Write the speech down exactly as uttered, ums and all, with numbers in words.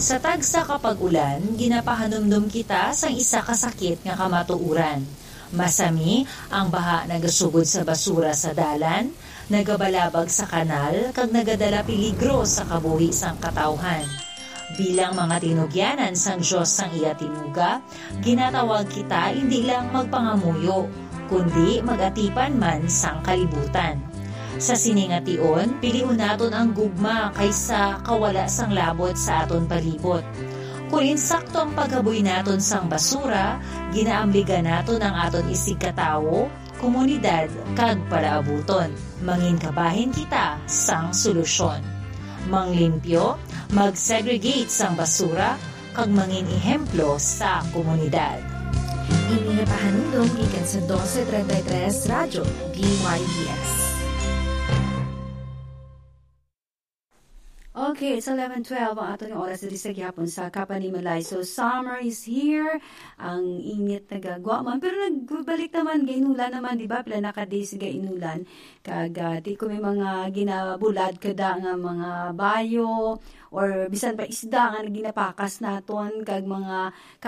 Sa tagsa ka pag-ulan, ginapahanumdom kita sang isa ka sakit nga kamatuoran. Masami, ang baha nagasugod sa basura sa dalan, nagabalabag sa kanal, kag nagadala peligro sa kabuhi sang katawhan. Bilang mga tinugyanan sang Dios sang iya tinuga, ginatawag kita indi lang magpangamuyo, kundi mag-atipan man sang kalibutan. Sa sini nga tion, pilihon naton ang gugma kaysa kawala sang labot sa aton palibot. Kon insakto ang paghaboy naton sang basura, ginaamligan naton ang aton isigkatawo, komunidad, kag palaabuton. Mangin kabahin kita sang solusyon. Manglimpyo, mag-segregate sang basura, kag mangin ehemplo sa komunidad. Ini nga pahanumdom gikan sa Doce treinta y tres Radyo D Y D S. Okay, it's eleven twelve ang aton nga oras diri sa gihapon sa Kapanimalay. So, summer is here. Ang init nagagwa man, pero nagbalik naman, gainulan naman, di ba? Pila na ka days gainulan. Kag, ah, di ko may mga ginabulad kada nga mga bayo or bisan pa isda nga ginapakas naton, kag mga